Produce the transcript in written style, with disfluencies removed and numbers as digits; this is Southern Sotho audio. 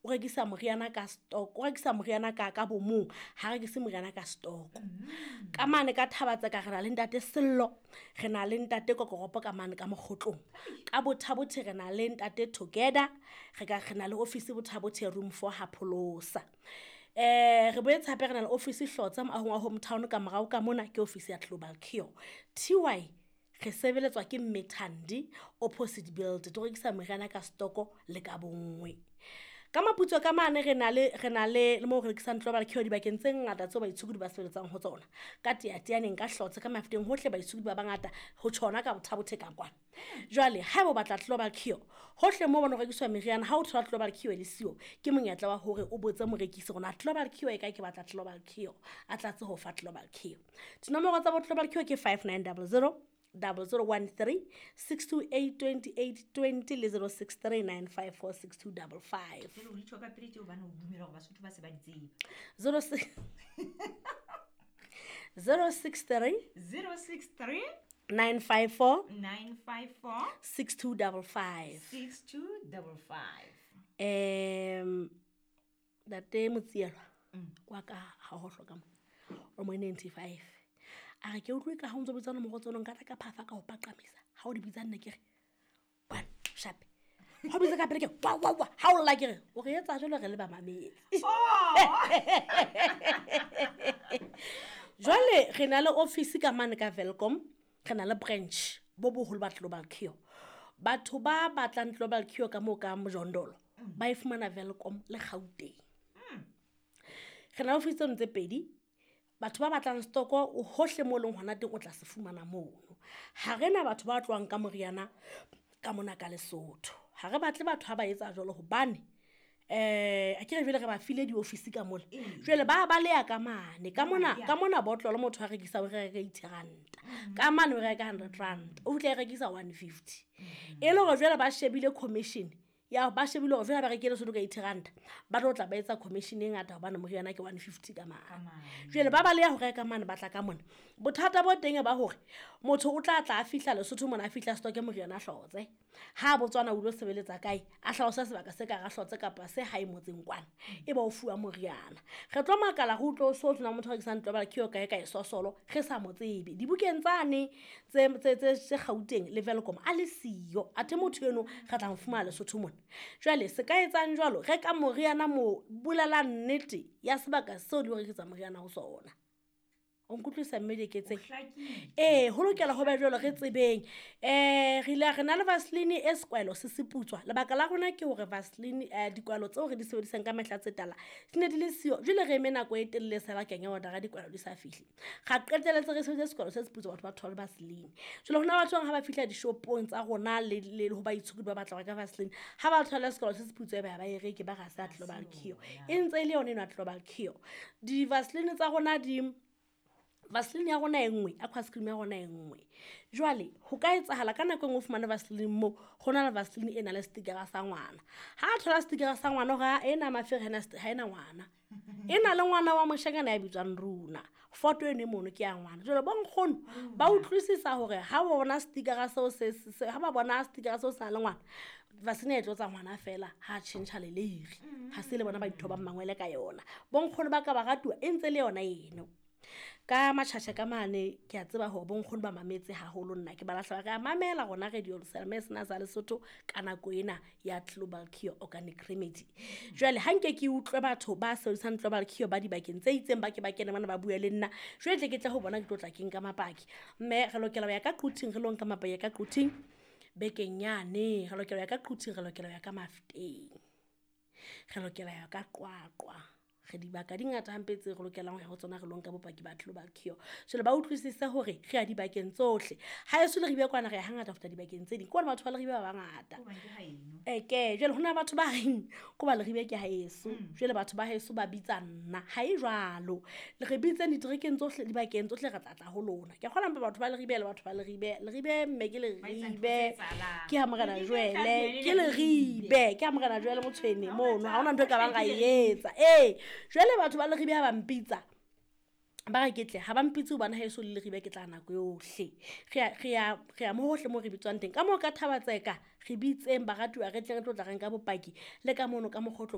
O rekisa moriana ka stock, o rekisa moriana ka bomong, ha rekise moriana ka stock. Ka mane ka Thabatseka re na le ntate Sello, re na le ntate Kokoropo ka mane ka Mokgotlong. Ka Bothabothe re na le ntate Together, re na le office Bothabothe room 4 ha Pholosa. Re boetse hape re na le office Hlotsa moahong wa Hometown ka morao ka mona ke office ya Global Cure. TY re sebeletswa ke Mme Thandi opposite build, to rekisa moriana ka stoko le ka bonngwe. Ka Maputsoe ka mane re na le le moo re rekisang Global Cure dibakeng tse ngata tseo baitshokodi ba sebeletsang ho tsona. Ka Teateaneng, ka Hlotse, ka Mafeteng, hohle baitshokodi ba bangata ho tjhona ka Bothabothe ka kwana. Jwale haeba o batla Global Cure, hohle moo bona ho rekiswa meriana, ha o thola Global Cure le siyo, ke monyetla wa hore o botse morekisi hore na Global Cure e kae, ke batla Global Cure, a tlatse ho fa Global Cure. Dinomoro tsa bo Global Cure ke 5900 0013 628 28 20 le 063 954 6255. Jwale o di tjho ka pele tje hobane o dumela hore Basotho ba se ba di tseba. 063 063 954 954 6255. 6255. Ntate Motsielwa kwa ka ha ho hloka mo o mo 95. A re ke utlwe ka ha o ntso bitsa nomoro tseno, nka tla ka phafa ka ho paqamisa. Ha o di bitsa nna ke re one sharp. Ha o bitsa ka pele ke wa wa wa, ha o lla ke re o re etsa jwalo re le ba mametse. Jwale re na le office ka mane ka Welkom, re na le branch bo boholo ba Global Cure. Batho ba batlang Global Cure ka moo ka Mjondolo ba e fumana Welkom le Gauteng. Re na le office tseno tse pedi. Batho ba batlang stoko o hohle mo leng hona teng o tla se fumana mono. Ha re na batho ba tlohang ka moriana ka mona ka Lesotho. Ha re batle batho ha ba etsa jwalo hobane a ke re jwale re ba file di-office ka mola. Jwale ba baleha ka mane. Ka mona botlolo motho a rekisa o reka 80 ranta. Ka mane o reka 100 rand. O fihla e rekisa 150. E le hore jwale ba shebile commission. Ya ba shebile hore jwale ba rekile Lesotho ka 80 ranta. Ba tlo tla ba etsa commission e ngata hobane moriana ke 150 ka mane. Jwale ba baleha ho reka mane ba tla ka mona. Bothata bo teng ba hore motho o tla tla a fihla Lesotho mona, a fihla stock moriana a hlotse. Ha Botswana o lo sebeletsa kae, a hlalosa sebaka se ka ra hlotse kapa se hae motseng kwana, e ba o fuwa moriana. Re tlo makala re utlwe o so tshwana motho a rekisang Global Cure kae kae sosolo, re sa mo tsebe. Dibukeng tsane tse Gauteng le Welkom a le siyo, athe motho eno re tla mo fumana Lesotho mona. Jwale se ka etsang jwalo, reka moriana mo, bolela nnete ya sebaka seo di rekisa moriana ho sona. O nkutlwisa mme Dieketseng? Ho lokela ho ba jwalo re tsebeng. Re ile re na le Vaseline e sekwahelo se seputswa. Lebaka la rona ke hore Vaseline, dikwahelo tseo re di sebedisang ka mehla tse tala di ne di le siyo. Jwale re eme nako e telele sa bakeng ya order-a dikwahelo di sa fihle. Ra qetelletse re sebedisa sekwahelo se seputswa, batho ba thole Vaseline. Jwale hona batho ba bang ha ba fihla dishopong tsa rona le ho baitshokodi ba batla ho reka Vaseline, ha ba thola sekwahelo se seputswa e ba ba e reke, ba re ha se ya Global Cure. E ntse e le yona eno ya Global Cure. Di-Vaseline tsa rona di Vaseline ya rona e nngwe, aqua cream ya rona e nngwe. Jwale ho ka etsahala ka nako e nngwe o fumane Vaseline mo, ho na le Vaseline e na le stickera sa ngwana. Ha a thola stickera sa ngwana hore ha ena mafere ha ena ngwana. E na le ngwana wa moshanyana ya bitswang Runa. Foto eno e mono ke ya ngwana. Jwale bo nkgono ba utlwisisa hore ha ba bona stickera seo se, se, se, ha ba bona stickera seo se na le ngwana, Vaseline e tlotsa ngwana fela ha tjhentjha leleiri. Ha se le bona ba ithobang mangwele ka yona. Bo nkgono ba ka ba ratuwa e ntse le yona eno. Ka matjhatjha ka mane ke a tseba hore bo nkgono ba mametse haholo nna ke ba lahla ba re a mamela rona radio Selma sena sa Lesotho ka nako ena ya Global Cure Organic Remedy. Jwale ha nke ke utlwe batho ba sebedisang Global Cure ba dibakeng tse itseng ba ke ba kene mona ba bue le nna. Jwale tle ke tle ho bona ke tlo tla ke nka mapaki. Mme re lokela ho ya ka Quthing, re lo nka mapaki ka Quthing bekeng yane. Re lokela ho ya ka Quthing, re lokela ho ya ka Mafeteng. Re lokela ho ya ka Qwaqwa. Re dibaka di ngata hampe tse re lokelang ho ya ho tsona re lo nka bopaki ba Global Cure. Jwale ba utlwisise hore re ya dibakeng tsohle. Ha eso le Leribe kwana re ya hangata ho feta dibakeng tse ding. Ke hobane batho ba Leribe ba bangata. Hobane ke haeno. Ke, jwale hona batho ba reng, ko ba Leribe ke haeso. Jwale batho ba haeso ba bitsa nna. Ha e jwalo. Le re bitseng diterekeng tsohle, dibakeng tsohle re tla tla ho lona. Ke kgolwa mpa batho ba Leribe le batho ba Leribe. Leribe mme ke Ba etsa ntho Leribe. tse etsahalang. Ke ha Morena Leribe Joele. tla be Ke le Leribe. Leribe. Ke ha Morena Joele Motshwene Ha hona mono. Ha hona ntho e ka bang ra e Leribe. etsa. Jwale batho ba Leribe ha ba mpitsa, ba re ke tle, ha ba mpitse hobane haeso le Leribe ke tla nako yohle. Re ya mo hohle moo re bitswang teng. Ka moo ka Thabatseka, re bitseng baratuwa re tle re tlo tla re nka bopaki le ka mono ka Mokgotlong.